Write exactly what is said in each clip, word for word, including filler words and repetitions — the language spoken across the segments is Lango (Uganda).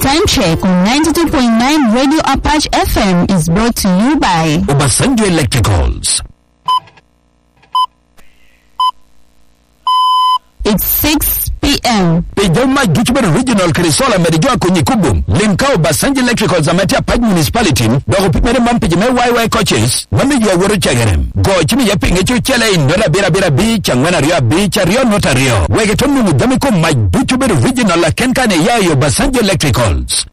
Time check on ninety-two point nine Radio Apache F M is brought to you by Obasanjo Electricals. It's six p.m. Pi jo mac ducu bedo regional kede solar medo jo akonyi kubo, lim ka Obasanjo Electricals ame tye Apac Municipality, dok opimere man pi jo me Y Y coaches, mano yo awoto cegere. Go cim iye pinge cucele i nota abiro abiro abic, angwen aryo abic, aryo nota aryo. Wek ito nwoŋo jami kom mac ducu bedo regional aken kan iya i Obasanjo Electricals.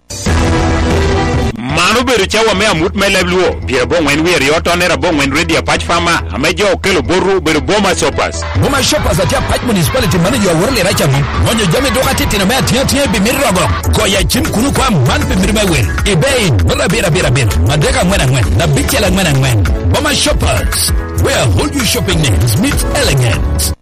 Man obedo cawa me amut me leb Luo, pyerabongwen wie aryo tonner abongwen Ready Apac Farmer, ame jo okelo botwu obedo Boma Shoppers. Boma Shoppers atye Apac Municipality mano yo aworo lira camo. Gonyo jami duka titino me atiŋa atiŋa i bimit rogo. Goyo acim kuno kwa man pi mito me wil. Ibei, nota abiro abiro abiro, adek angwen angwen, abicel angwen angwen. Boma Shoppers, where all your shopping needs meet elegance.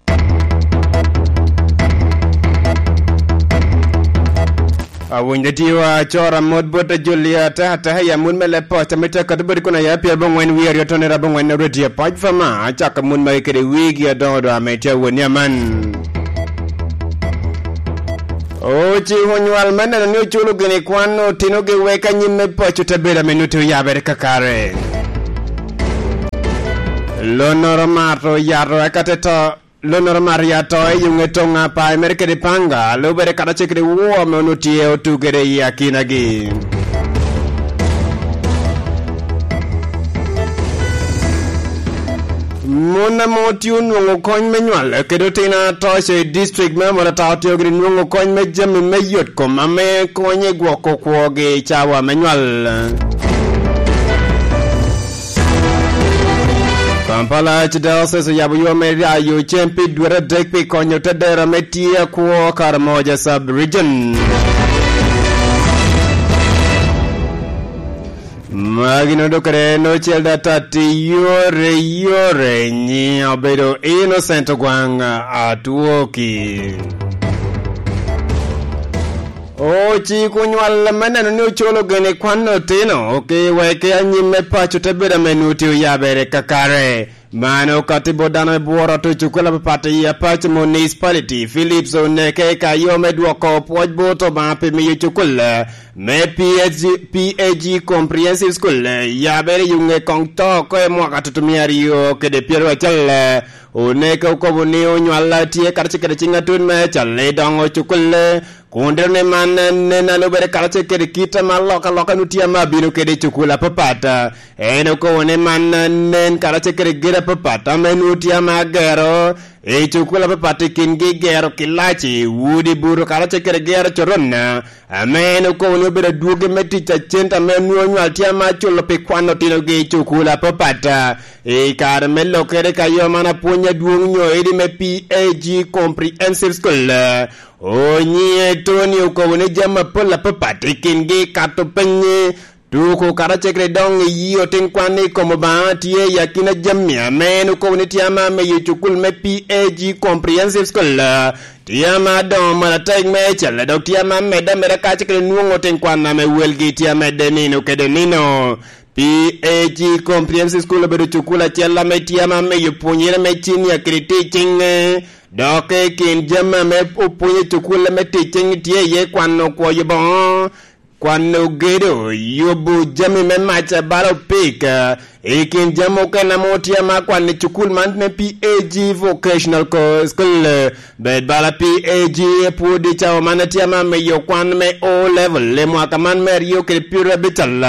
Awinyo tiwa cora mot bot a Julia, ataka ataka i amut me leb poc, ame tye akat bot i kun aya pyer abongwen wie aryo tonner abongwen Radio Apac Farmer, acako amut magi kede wigi adoŋo doŋ ame tye awot ni aman. Ociko nywal me neno ni oculo gini kwan otinogi wek anyim me poc ote bedo ame nuti oyabere kakare. Lonnoro mato oyato eka te to. Lonnoro Maria to i yuŋe toŋ apae mere kede paŋga, lubere karacel kede woo ame onwoŋo tye otugere i akinagi. Mon ame otye onwoŋo kony me nywal kede otino atoco i district me Amolata otye gire nwoŋo kony me jami me yot kom ame konyo i gwoko kwogi i cawa me nywal. Kampala Archdiocese oyabo yo me rayo cem pi dwete adek pi konyo te dero ame tye akwo Karamoja Sub-Region. Magi nodokere nocel da tatti yore yore nyi obedo Innocent Ogwang Atwoki. Ociko nywal me neno ni ocolo gene kwan otino, oke weke anyim me paco te bedo ame nuti oyabere kakare. Mano kati bot dano me bworo to cukul apapat i Apac Municipality, Philips oneke ka yo me dwoko pwoc bot Obaŋa pi miyo cukul me P H G, P A G Comprehensive School, yabere i ŋe koŋ to oko i mwaka tutumia aryo kede pyero acel. Oneke okobo ni onywal tye karacel kede ciŋ atut me cal i doŋo cukul. Kun dero ni man nen a lubere karacel kede kit ame alokaloka nu tye ame abino kede i cukul apapat. En okobo ni man nen karacel kede gedo apapat ame nu tye ame agero i cukul apapat i kingi gero kilaci, udi buto karacel kede gero coron, ame en okobo ni obedo adwogi me tic a cente ame onwoŋo nywal tye ame aculo pi kwano otinogi i cukul apapat. I kare me lokere ka yo man apwony adwoŋ nyo edi me P A G Comprehensive School, Onyiŋe Tony okobo ni jami apol apapat i kingi kato piny, tuko karacel kede doŋ i yi otin kwan i kom Obaŋa tye i akina jami ame en okobo ni tye ame amiyo cukul me P A G Comprehensive School tye ame adoŋo malatek meicel, dok tye ame amedde ameda karacel kede nwoŋo otin kwan ame welgi tye amedde nino kede nino. P A G Comprehensive School obedo cukul acel ame tye ame amiyo pwonyere me cinia kede tic ciŋe. Dok i kin jami ame opwonyo i cukul ame tic ciŋ tye iye kwano kwoyo boŋo, kwano gedo, yubo jami me mac bala opik. I kin jami okene ame otye ame akwano i cukul man me P A G Vocational Co-, School, bed bala P A G pwod i cawa man tye ame amiyo kwan me O level i mwaka man me aryo kede pyerabicel.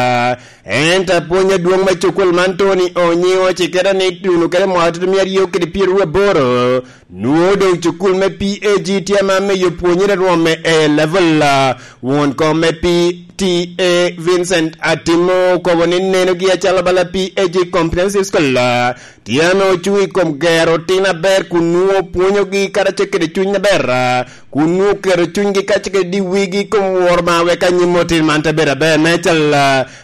Ento apwony adwoŋ me cukul man Tony Onyiŋo ocikere ni tuno kede mwaka tutumia aryo kede pyeraryo aboro, nwoŋo doŋ cukul me P A G tye ame amiyo pwonyere rwom me A level. Won kom me P T A Vincent Atimo okobo ni nenogi acalo bala P A G Comprehensive School, tye ame ocuŋ i kom gero tin aber kun nwoŋo pwonyogi karacel kede cuny aber, kun nwoŋo keto cunygi kacel kede wigi i kom woro Obaŋa wek anyim otin man te bedo aber meicel.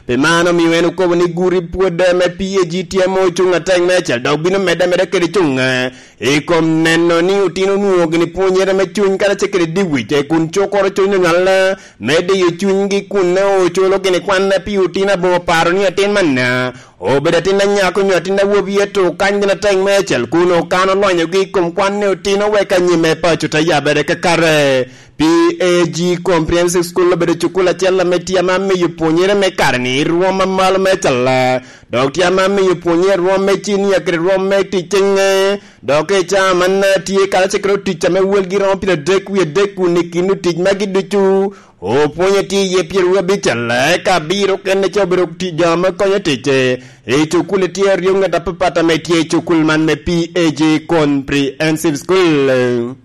Pi man omio en okobo ni gudi pwod me P A G tye ame ocuŋ atek meicel, dok bino medde ameda kede cuŋ, eh, i kom neno ni otino onwoŋo gini pwonyere me cuny karacel kede diwic, eh, kun cukoro cuny onywal, eh, me diyo cunygi kun ne ocolo gini kwan pi otino aboŋo paro ni atin man, eh, obedo atin anyako nyo atin awobi, ento okany gin atek meicel kun okano lonyogi i kom kwan ni otino wek anyim me paco te yabere kakare. P A G Comprehensive School obedo cukul acel ame tye ame miyo pwonyere me kare-ni i rwom amalo me calla, dok tye ame miyo pwonyere rwom me cinia kede rwom me tic ceŋe. Dok i caa man tye karacel kede otic ame welgi romo pyeradek wie adek kun i kin otic magi ducu, opwonye tye iye pyeraryo abical, eka abiro okene ca obedo ti-, jo ame konyo tic i cukul tye aryo ŋet apapat ame tye i cukul man me P A G Comprehensive School.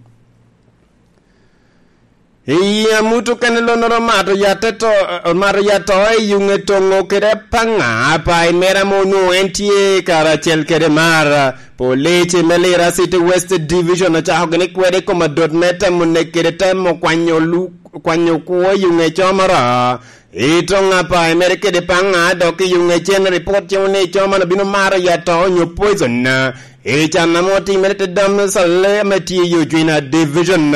I amut okene lonnoro omato yat te to, omato yat to i yuŋe toŋo kede apaŋa, apayi mere ame onwoŋo en tye karacel kede mar. Police me Lira City West Division ocako gini kwede i kom adot me temo nek kede temo kwanyo lu-, kwanyo kwo i yuŋe comoro. I toŋ apayi mere kede paŋa dok i yuŋe cen, ripot cimo ni co man obino maro yat to onyo poison. I can ame otimere te dam Salem tye i Ojwina Division.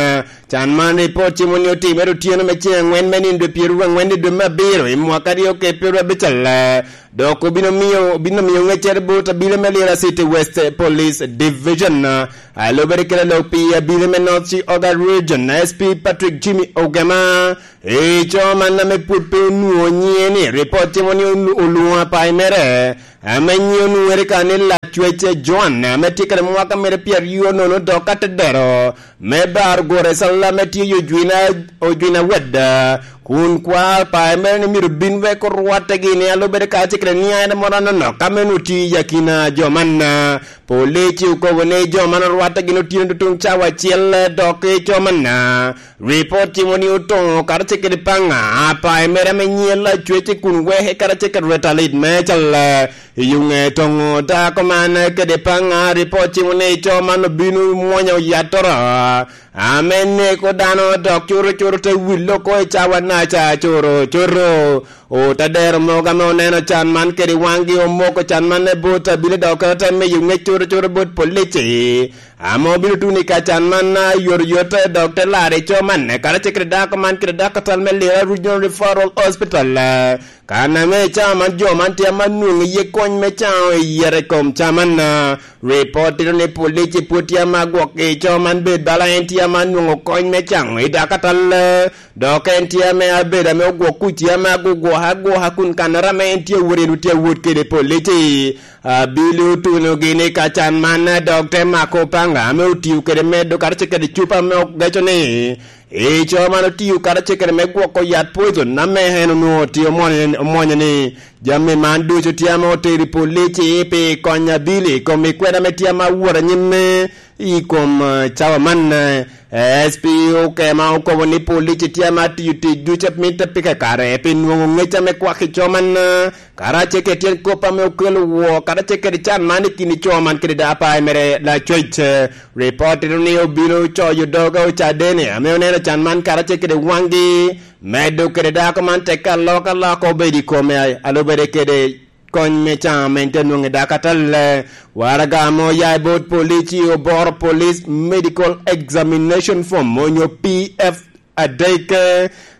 Can man ripot cimo ni otimere otyeno me ceŋ angwen me nindo pyeraryo angwen i dwe me abiro i mwaka aryo kede pyeraryo abical. Dok obino miyo, obino miyo ŋeccere bot abile me Lira City West Police Division. A lubere kede lok pi abile me North Chi Oga Region, S P Patrick Jimmy Ogema. I co man ame pwod pe onwoŋo nyiŋe ni, ripot cimo ni olu-, olwoŋo apayi mere, ame nyiŋe onwoŋere ka ni Lacwec Joan, ame tye kede mwaka mere pyeraryo nono dok atedero, me bar gure Salem ame tye i Ojwina, Ojwina Wed, kun kwa apayi mere ni myero bin wek orwatte gini, a lubere ka ce kede niaŋ en moro anonok, ame onwoŋo tye i akina jo man. Police okobo ni jo man orwatte gini otyeno tutuŋ cawa acel, dok i co man. Ripot cimo ni otoŋo karacel kede paŋa, apayi mere ame nyiŋe Lacwec kun weke karacel kede Retalit me cal. I yuŋe toŋo dako man kede paŋa, ripot cimo ni co man obino mwonyo yattoro, ame neko dano dok coro coro te wille oko i cawa naca coro coro. Otadero mogo ame oneno can man kede waŋgi omoko can man i bot abili dok te miyo ŋec coro coro bot polici. Ame obino tuno i ka can man, a, yot yot, eh, dok te laro i co man, eh, karacel kede dako man kede dako atal me Lira Regional Referral Hospital, eh, kan ame i cawa man jo man tye ama nwoŋo iye kony me caŋo i yet i kom ca man, eh, ripot tito ni polici pwod tye ama gwok i co man bed bala en tye ama nwoŋo kony me caŋo i dako atal, eh, dok en tye ame abedo ame ogwok kuc tye ama agugwoka agwoka kun kannoro ame en tye awot en tye awot kede polici. Abili otuno gini ka can man, dok te mako paŋa ame otio kede medo karacel kede cupa ame ogeco ni, i co man otio karacel kede me gwoko yat poison ame en onwoŋo tye omwonyo, omwonyo ni jami man ducu tye ame otero i polici pi konyo abili i kom i kwena ame tye ame awot anyimme i kom, eh, cawa man, eh, S P Okema okobo ni polici tye ame atio tic ducu a mitte pi kakare pi nwoŋo ŋec ame kwak i co man, eh, karacel kede tyen kop ame okelo woo, karacel kede can man i kin i co man kede da apayi mere Lacwec. Ripot tito ni obino coyo doge Ocadene ame oneno can man karacel kede waŋgi, medo kede dako man teke alok alok obedo i kome, a-, alubere kede kony me caŋ ame te nwoŋo i dako atal. Waraga ame oya i bot polici oboro Police Medical Examination Form onyo P F adek.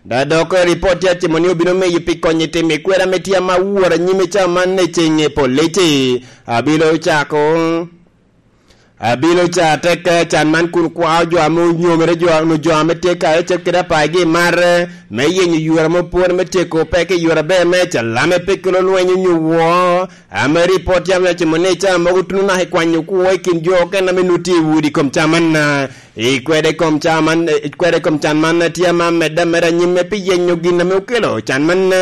Da dok ripot tye acimo ni obino miyo pi konyo i timo i kwera ame tye ama woro anyim i cawa man i ceŋ i polici. Abilo cako, abilo ca tek can man kun kwao jo ame onyomere, jo, onyo jo ame tye karacel kede apagi i mar, me yenyo yore ame opwony me tyeko peko i yore aber me calame pe kelo lweny onyo woo. Ame ripot yam ocimo ni cawa mogo tuno naka i kwanyo kwo i kin jo okene ame nut tye i udi kom ca man, i kwede kom ca man, i kwede kom can man tye ama medde ameda nyimme pi yenyo gin ame okelo can man,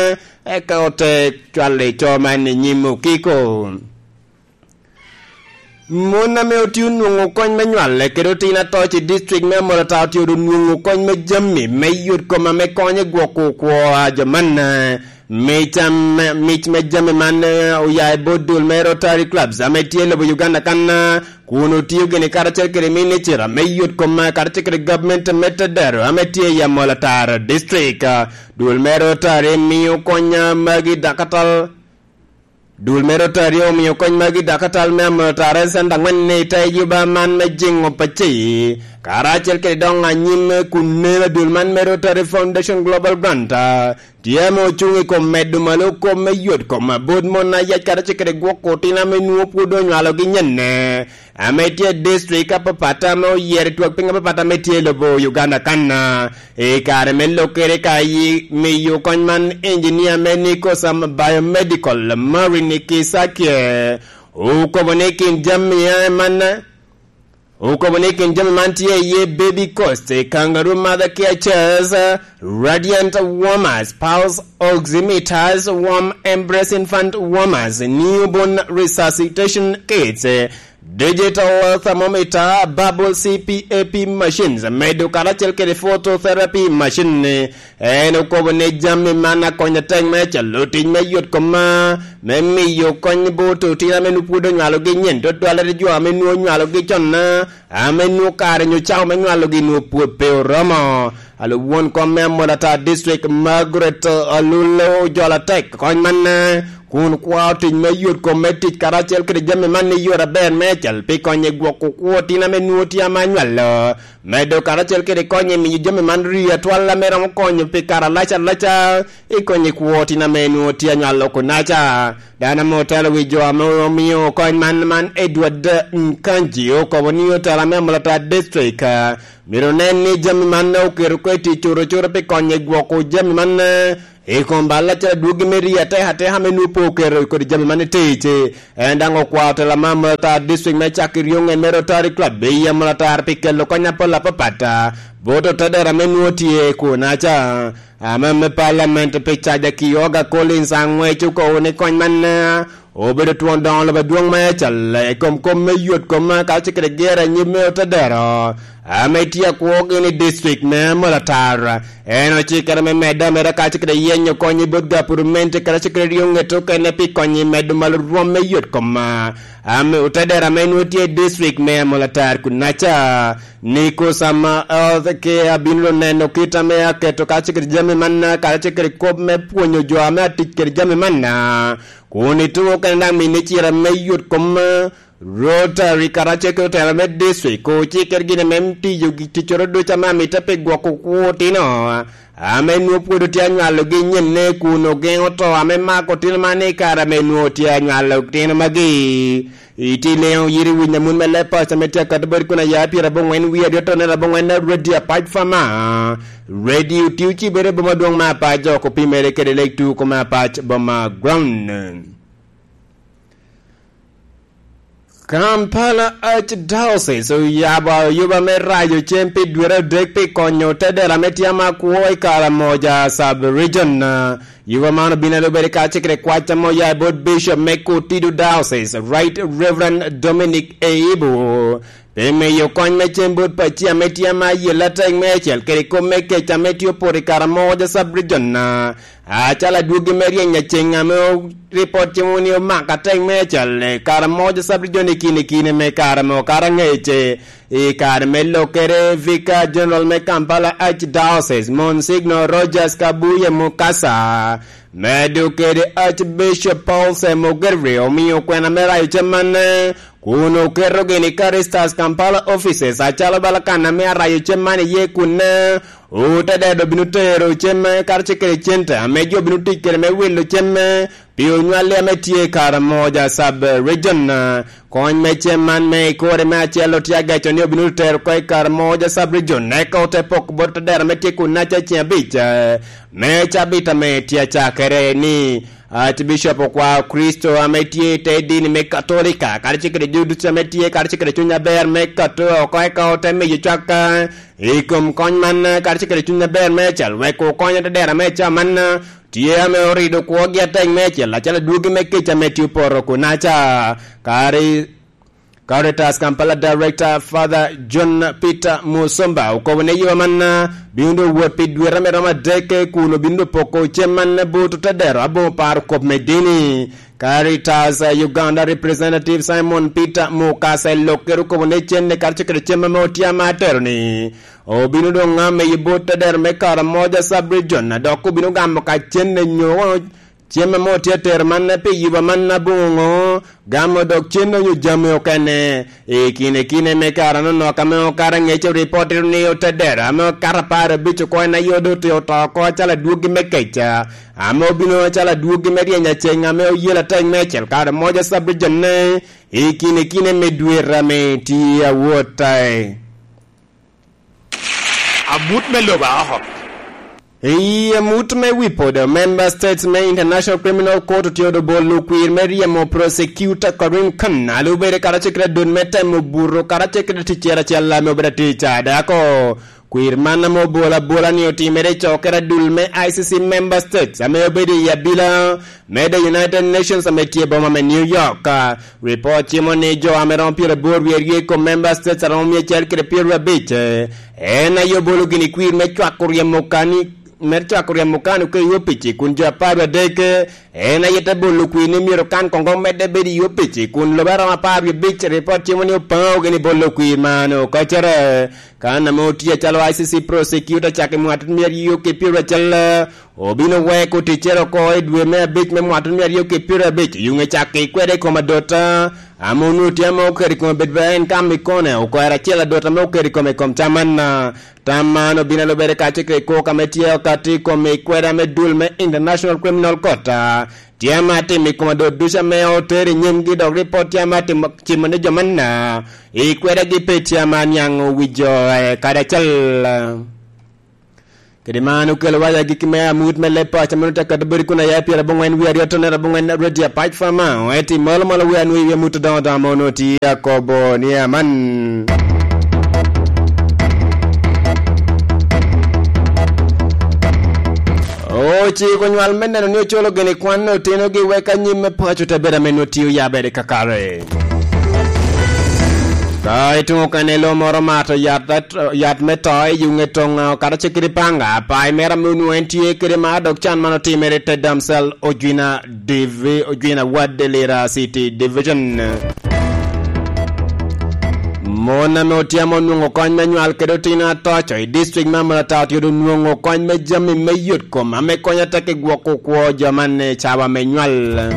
eka ote cwalo i co man i nyim okiko. Mon ame otye onwoŋo kony me nywale kede otin atoc i district me Amolata otye onwoŋo kony me jami me yot kom ame konyo i gwoko kwo a jo man, eh, mic am-, mic me jami man, eh, oya i bot dul me Rotary Clubs ame tye i lobo Uganda kan, eh, kun otio gini karacel kede minicita me yot kom, eh, karacel kede gabment me tedero ame tye i Amolata District. Ah, dul me Rotary mio kony, ah, magi dakatal Dul me Rotary omio kony magi dakatal me Amolata Center angwen ni i te yuba man me jiŋo paci, Karacel kede doŋ anyim kun nen adul man me Rotary Foundation Global Grant, ah, tye ame ocuŋ i kom medo malo kop me yot kom abot mon ayac karacel kede gwoko otino ame nwoŋo pwod onywalogi nyenne, ame tye i district apapat ame oyero i twak piny apapat ame tye i lobo Uganda kan, ah, i kare me lokkere ka yi miyo kony man, engineer me Nikosam Biomedical, Maureen Kisakye, okobo ni kin jami a man, okobo ni kin jami man tye iye baby cots, kangaroo mother care chairs, radiant warmers, pulse oximeters, warm embrace infant warmers, newborn resuscitation kits, digital thermometer, bubble C PAP machines, medo karacel kede phototherapy machine. En okobo ni jami man akonyo atek me calo tic me yot koma, me miyo kony bot otino ame nwoŋo pwod onywalogi nyen, dodwalere jo ame nwoŋo onywalogi con, ame nwoŋo kare nyo cawa me nywalogi nwoŋo pwod pe oromo. Alub won kom me Amolatar District, Margaret Alule, ojolo atek kony man, kun kwao tic me yot kom me tic karacel kede jami man i yore aber me cal pi konyo i gwoko kwo otino ame nwoŋo tye ama nywalo. Medo karacel kede konyo i miyo jami man rii atwal ame romo konyo pi kare alac alaca i konyo i kwo otino ame nwoŋo tye anywalo kunaca. Dano ame otelo wi jo ame omio kony man, man Edward Nkanji, okobo ni otelo ame Amolatar District, ah, myero onen ni jami man oketo oko i tic cuto cuto pi konyo i gwoko jami man, eh, i kom bal acel adwogi me rii atek ateka ame nwoŋo pe oketo kodi jami man i tic. En daŋ okwao tela me Amolatar District me cako i ryoŋe me Rotary Club i Amolatar pi kelo kony apol apapat, ah, bot otedero ame nwoŋo tye kunaca. Ame me Parliament pi Caja Kioga Collins Angwec okobo ni kony man, ah, obedo twon doŋo lobo adwoŋ me cal i kom kom me yot kom karacel kede gero anyim me otedero ame tye akwogi ni district me Amolatar. En ocikkere me medde ameda karacel kede yenyo kony i bot gapurumenti karacel kede ryo ŋet okene pi konyo i medo malo rwom me yot kom, ame otedero ame nwoŋo tye i district me Amolatar kunaca. Nikosam Health Care abino neno kit ame aketo karacel kede jami man karacel kede kop me pwonyo jo ame atic kede jami man, kun ituŋo kene daŋ mine cira me yot kom Rotary karacel kede otela me district, ocikkere gin ame tiyo gi ticcoro ducu ame amito pi gwoko kwo otino ame nwoŋo pwod otye anywalogi nyenne, kun ogeŋo to ame mako otino man i kare ame nwoŋo tye anywalo otino magi. Itye leŋo yiri winyo amut me leb paco ame tye akato bot kun aya pyera aboŋwen wie aryo tone aboŋwen na redio apac fama. Redio tye ocibere boma dwoŋ me apac oko pi mere kede lek tuko me apac boma ground. Kampala Archdiocese oyabo ayuba me rayo cem pi dwere adek pi konyo otedera me tye ama kwo i Karamoja Sub-Region. Yuba man obino alubere kacel kede kwac ame oya i bot Bishop me Kotido Diocese, Right Reverend Dominic Eibu, pi miyo kony me cem bot paci ame tye ama yelle atek meicel kede kop me kec ame tye opoto i Karamoja Sub-Region. Acalo adwogi me ryeny aceŋ ame o-, ripot cimo ni omako atek me acal, eh, Karamoja Sub-Region i kine kine me kare me okato angec, eh, i kare me lokere, Vicar General me Kampala Archdiocese, Monsignor Rogers Kabuye Mukasa, medo kede Archbishop Paul Semogerri, omio kwena me rayo cem man, eh, kun oketogi ni Caritas Kampala offices, acalo bala kan ame arayo cem man iye kun, eh, otedede obino tero cem, eh, karacel kede cente ame jo obino tic kede me wilo cem, eh, pi onywalli ame tye i Karamoja Sub-Region. Kony me cem man me ikore me acel otye ageco ni obino tero oko i Karamoja Sub-Region, eka ote poko bot otedera ame tye kun naca ceŋ abic, eh, me cabit ame tye acakere ni Archbishop okwao Kricito ame tye i te dini me Katolika, karacel kede jo ducu ame tye, karacel kede cuny aber me kato oko, eka ote miyo cwak i kom kony man, karacel kede cuny aber me cal, wek okony otedera me ca man, tye ame orido kwogi atek me cel, acalo adwogi me kec ame tye opoto kunaca. Kari Caritas Kampala Director Father John Peter Musomba okobo ni yo man, ah, bino doŋ wot pi dwete ame romo adek, kun obino doŋ poko cem man bot otedero aboŋo paro kop me dini. Caritas, ah, Uganda Representative Simon Peter Mukasa Lokere okobo ni cen ni karacel kede cem ame otye ama atero ni obino doŋ ame i bot otedero me Karamoja Sub-Region, dok obino gamo ka cen ni nyo Cem ame otye atero manna pi yuba manna aboŋo ŋo, gamo dok cen onyo jami okene. I kine kine me kare anonok ame okato aŋec, oripot tito ni otedero ame okato apar abic oko en aye odote oto oko acalo adwoggi me keca, ame obino acalo adwoggi me ryeny aceŋ ame oyelo atek me acel kare moja sub-region-ne. I kine kine me dwete ame tye awot ae. Amut me lobo a oko. I amut me wi podo, member states me International Criminal Court otye odo bolo kwir me ryemo prosecutor Karim Khan, a lubere karacel kede adot me temo buto karacel kede ticcere acel ame obedo atic a dako. Kwir man ame obolo abola ni otimere i cokere adul me I C C member states ame obedo i abila me The United Nations ame tye i boma me New York. Ripot cimo ni jo ame romo pyeraboro wie aryo i kom member states a romo mia acel kede pyeraryo abic, en aye obolo gini kwir me cwako ryemo kani, me cwako ryemo kano ka i opic, kun jo apar adek en aye te bolo kwir ni myero kan koŋ medde bedo i opic, kun lobo a romo apar wie abic ripot cimo ni opaŋo gini bolo kwir man okacere. Kan ame otye acalo I C C prosecutor cak i mwatut mia aryo ki pyeraryo acel, obino weko ticcere oko i dwe me abic me mwatut mia aryo ki pyeraryo abic, yuŋe cak i kwede i kom adota, ame onwoŋo tye ame oketo i kome bedo ba en ka mikone okwero acel adota ame oketo i kome i kom tam man. Tam man obino alubere kacel kede kok ame tye okato i kom i kwede ame dul me International Criminal Court, a, tye ame atimo i kom adot ducu ame otero i nyimgi, dok ripot tye ame atimo cimo ni jo manna i kwedegi pe tye ame aniaŋ owijo, eh, kadi acel. Kede man okelo waya agikki me amut me leb paco ame onwoŋo tye ka bedo kun aya pyerabongwen wie aryo tone rabongwen Radio Apac Fama, eti molo molo wi anwoŋo i wi amut odoŋo odoŋo ame onwoŋo tye akobo ni aman. Ociko nywal me neno ni ocolo gini kwan otinogi wek anyim me paco te bedo ame nwoŋo tye oyabere kakare. Ka ituŋo kene lo moro mato yat, yat me to i yuŋe toŋ, kata cik kede panga, pa i mera me onwoŋo en tye kede mar dok can man otimere te Damsel Ojwina Divi-, Ojwina Wad Lira City Division. Mon ame otyamo onwoŋo kony me nywal kede otino atoco i district me Amurata otye onwoŋo kony me jami me yot kom ame konyo atek i gwoko kwo jo man i cawa me nywal.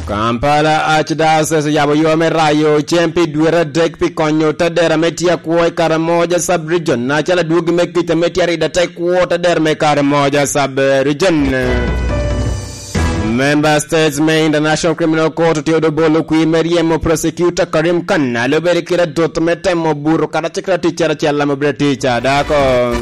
Kampala Archdiocese oyabo yo me rayo cem pi dwete adek pi konyo otadera me tye akwo i Karamoja Sub-Region, acalo adwogi me kica me tye arida te kwo otadera me Karamoja Sub-Region. Member States me International Criminal Court otye odo bolo kwir me ryemo prosecutor Karim Khan, a lubere kede adot me temo buto kata cik tic acel ame obedo tic a dako.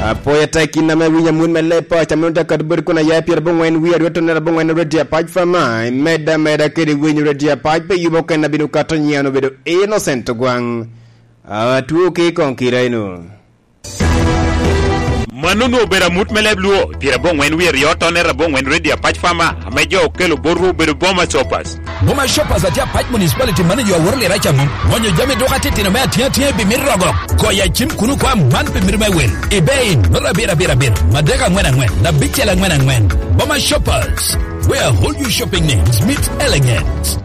Apoya tek in ame winyo amut me leb paco ame onwoŋo tye ka bedo kun aya pyerabongwen wie aryo tone rabongwen Radio Apac Fama, imedde ameda kede winyo Radio Apac pe yubo ken abino kato nyian obedo Innocent Ogwaŋ. Atwo ki i koŋ kira eno. Mano onwoŋo obedo amut me leb Luo, pyerabongwen wie aryo tone rabongwen Radio Apac Fama, ame jo okelo botwu obedo Boma Shoppers. Boma Shoppers atye Apac Municipality manager aworo lira ca mom. Gonyo jami duka titino me atyea atyea i bimit rogo. Goyo acim kun okwa man pi mito me wil. Ibe in, nota abiro abiro abiro, madek angwen angwen, abicel angwen angwen. Boma Shoppers, where whole you shopping needs meet elegance.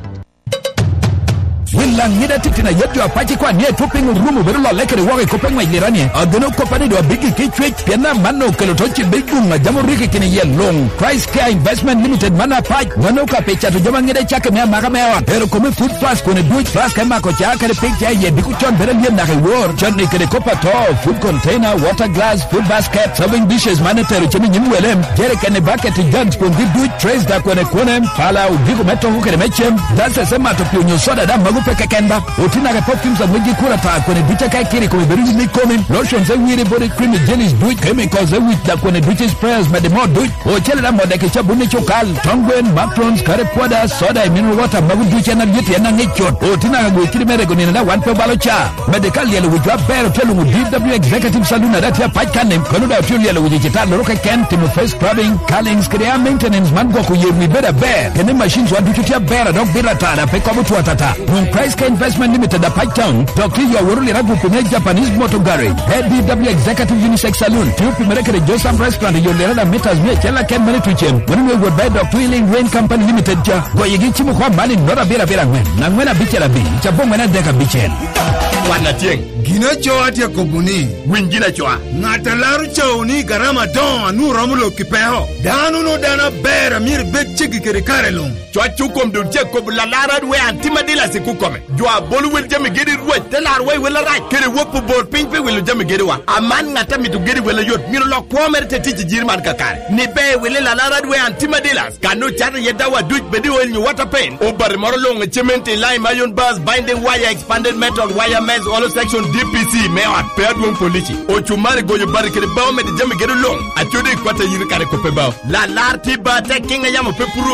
Wil Laŋida titino ayet jo apac ikwan ni etwo piny orumo bedo lolle kede woko i kop eŋwec lirani. Ageno kop ni do abiggi ki cwec, pien amanno okelo to ci big guŋ a jam oriki kini yel luŋ. Christ Care Investment Limited man apac, mano ka pi cato jami aŋida cake me amaka me ot. Ero kome food flask kone duc, flask me mako ca kede pig ca iye diko con bedo alyet naka i wor. Con ni kede kop ato, food container, water glass, food basket, serving dishes man etero cem i nyim wele, jerikeni, baketi, jugs, kwongi duc, trays da kwene kwene, pala, odiko me toko kede me cem, glasses me mato pi onyo soda da mago pe keken ba. Otino ake perfumes a ŋwecgi kuro ata kwene duc aka ikiri kome bedo yim i komi, lotions e wiri body cream i jellies duc, chemicals e wic da kwene duc i sprayers mede mo duc, ocele da modeki cabun i cukal, tong gwen, macarons, kare pwoda, soda, i mineral water mago duc en alyet en aŋic cut. Otino aka gwe kidi me rego nino da wan pe obalo ca. Mede ka lyelo wic wa ber otye luŋo D W Executive Saloon ada tye apac kan-ni, kono da otye lyelo wic i cita loro keken, timo face scrubbing, curlings, kede air maintenance man gwoko yer wi bedo aber. Kene machines wa ducu tye aber, a dok bito atara, pe kobo two atata. Nwoŋ Price Care Investment Limited apac town, dok tye yo aworo lira gupi me Japanese Motor Garage. A D W Executive Unisex Saloon, tye opimere kede Josam Restaurant, yo lira da meters mia acel aken mene tucem. Mano nwe wot ber dok Twilling Rain Company Limited ca. Goyegi cimo kwa mani nota abiro abiro angwen, angwen abicel abic, cabongwen adek abicel. Kwan atyeŋ. Gin aco atye akobo ni, winy gin acoa. Ŋat a laro cawu ni garama adoŋo a nwoŋo romo lok i peko. Dano no dano aber a myero ibed ceggi kede kare luŋ. Cwac okom dul ce kobo lalar adwe an tim adilas i kukome. Jo a bolo wel jami gedi rwec te laro wa i wel arac, kede wop obor piny pi wilo jami gediwa. Aman ŋat a mito gedi wel ayot, myero lok kwo mere te tic i jiri man kakare. Ni be wili lalar adwe an tim adilas. Kan ocato iye dawa duc bed i oil nyo water paint. Obati moro luŋ i cement i lime iron bars, binding wire, expanded metal, wire mesh, hollow section, D P C me ot, pe adwoŋ polici. Ocumari goyo bati kede bao medo jami gedo luŋ. Acodi i kwat ayiri kare kope bao. Lalar tye ba tek kiŋ a yamo pe puro